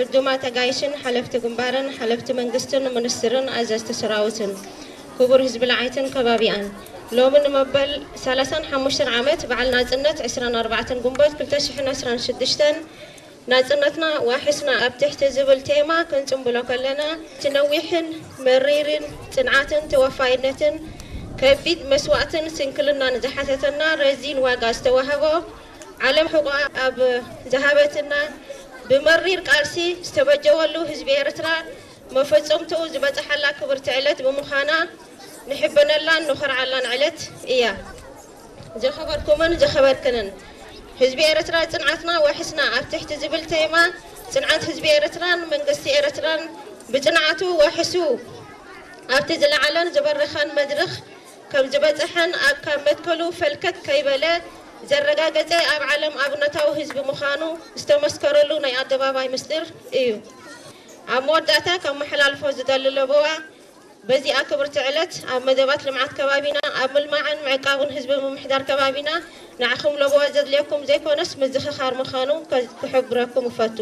ዕዱማት ኣጋይሽን ሓለፍቲ ግንባርን ሓለፍቲ መንግስትን ሚኒስትርን ኣዘዝቲ ሰራዊትን ክቡር ህዝቢ ለዓይትን ከባቢኣን፣ ሎሚ ንመበል ሰላሳን ሓሙሽተን ዓመት በዓል ናጽነት ዕስራን ኣርባዕተን ግንቦት ክልተ ሽሕን ዕስራን ሽዱሽተን ናጽነትና ዋሕስና ኣብ ትሕቲ ዝብል ቴማ ክንጽንብሎ ከለና፣ እቲ ነዊሕን መሪርን ጽንዓትን ተወፋይነትን ከቢድ መስዋእትን ስንክልናን ዝሓተተና ረዚን ዋጋ ዝተዋህቦ ዓለም ሕቆኣ ኣብ ዝሃበትና ብመሪር ቃልሲ ዝተበጀወሉ ህዝቢ ኤርትራ መፈጸምትኡ ዝበጽሓላ ክብርቲ ዕለት ብምዃና ንሕበነላን ንኾርዓላን ዕለት እያ። ዝኸበርኩምን ዝኸበርክንን ህዝቢ ኤርትራ ጽንዓትና ዋሕስና ኣብ ትሕቲ ዝብል ቴማ ጽንዓት ህዝቢ ኤርትራን መንግስቲ ኤርትራን ብጽንዓቱ ዋሕሱ ኣብቲ ዝለዓለን ዝበረኸን መድረኽ ከም ዝበጽሐን ኣብ ካብ መትከሉ ፈልከት ከይበለ ዘረጋገጸ ኣብ ዓለም ኣብነታዊ ህዝቢ ምዃኑ ዝተመስከረሉ ናይ ኣደባባይ ምስጢር እዩ። ኣብ መወዳእታ ከመሓላልፎ ዝደሊ ለበዋ በዚኣ ክብርቲ ዕለት ኣብ መደባት ልምዓት ከባቢና ኣብ ምልማዕን ምዕቃብን ህዝቢ ምምሕዳር ከባቢና ንዓኹም ለበዋ ዘድልየኩም ዘይኮነስ ምዝኽኻር ምዃኑ ከ- ክሕብረኩም እፈቱ።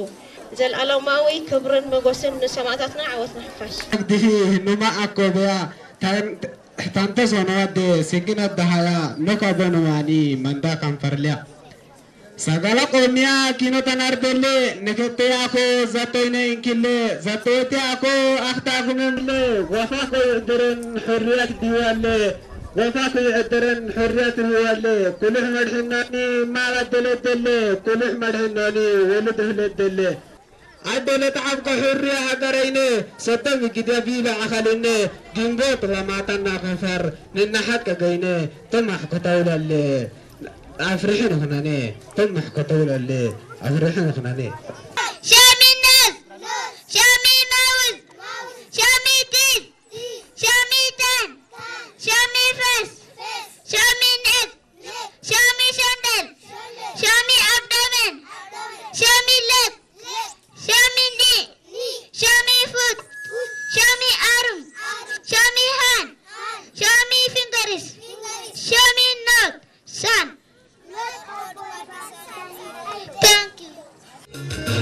ዘልኣለማዊ ክብርን መጎስን ንሰማእታትና ዓወት ንሓፋሽ። Agdihi hinuma akobeya tante sono wadde sikinat dahaya noka bonumani manda kamfarliya. Sagala qomiya kino tanarbelle nekette ako zatoyne inkille zatoyte ako akhta kumemle wafa ko deren hurriyat diwalle wafa ko deren hurriyat diwalle kulih madhinani ma wadde ledelle kulih madhinani welu dehledelle. ኣደለ ተዓብቀ ሕርያ ሃገረይነ ሰደም ግደ ቢበ ኣኸልነ ግንቦት ለማታና ከፈር ንናሓቀ ገይነ ትማሕ ከተውለለ ኣፍርሒ ንኽነነ ትማሕ ከተውለለ ኣፍርሒ ንኽነነ።